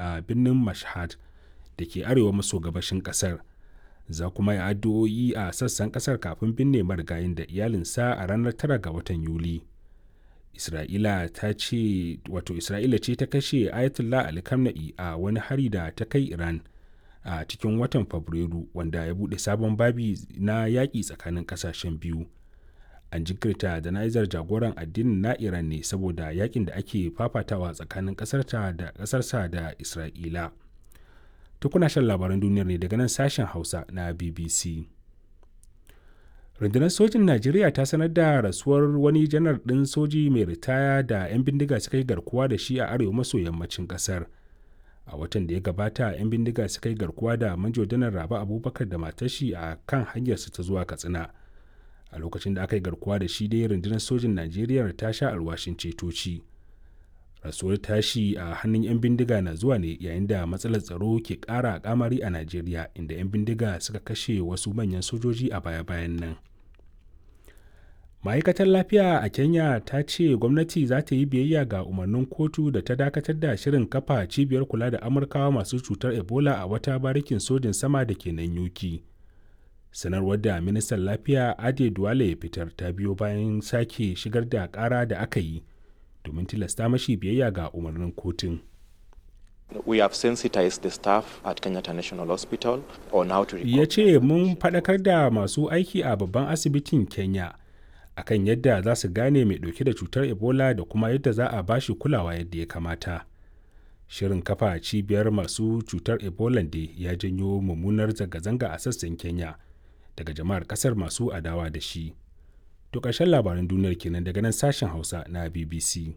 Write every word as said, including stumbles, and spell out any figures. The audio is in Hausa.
a birnin Mashhad da ke arewa maso gabashin ƙasar. Za kuma yi addu'o'i a sassan ƙasar kafin binne marigayin da iyalinsa a ranar tara ga watan Yuli. Isra'ila ta ce wato Isra'ila ce ta kashe Ayatollah Ali Khamenei a wani hari da ta kai Iran a cikin watan Fabrairu, wanda ya buɗe sabon babi na yaƙi tsakanin ƙasashen biyu. An jinkirta jana'izar jagoran addinin na Iran ne saboda yakin da ake fafatawa tsakanin ƙasarta da ƙasarsa da Isra'ila. Tukuna shan labaran duniyar ne daga nan sashen Hausa na B B C. Rundunar sojin Najeriya ta sanar da rasuwar wani janar ɗin soji mai ritaya da 'yan bindiga suka yi garkuwa da shi a arewa maso yammacin ƙasar. A watan da ya gabata 'yan bindiga suka yi garkuwa da Manjo Janar Rabe Abubakar da matar shi a kan hanyarsu ta zuwa Katsina. A lokacin da aka yi garkuwa da shi dai, rundunar sojin Najeriya ta sha alwashin cetoci. Rasuwar tashi a hannun 'yan bindiga na zuwa ne yayin da matsalar tsaro ke ƙara kamari a Najeriya, inda 'yan bindiga suka kashe wasu manyan sojoji a baya-bayan nan. Ma'aikatar lafiya a Kenya ta ce gwamnati za ta yi biyayya ga umarnin kotu da ta dakatar da shirin kafa cibiyar kula da Amurkawa masu cutar Ebola a wata barikin sojin sama da ke nan Yuki. Sanarwar da ministan lafiya Ade Duwale ya fitar ta biyo bayan sake shigar da kara da aka yi domin tilasta mashi biyayya ga umarnin kotun. We have sensitized the staff at Kenyatta National Hospital on how to Ya ce mun faɗakar da masu aiki a babban asibitin Kenya akan yadda za su gane mai ɗauke da cutar Ebola da kuma yadda za a bashi kulawa yadda ya kamata. Shirin kafa cibiyar masu cutar Ebola da ya janyo mummunar zanga-zanga a sassan Kenya daga jama'ar kasar masu adawa da shi. To ƙarshen labaran duniyar kenan daga nan sashen Hausa na B B C.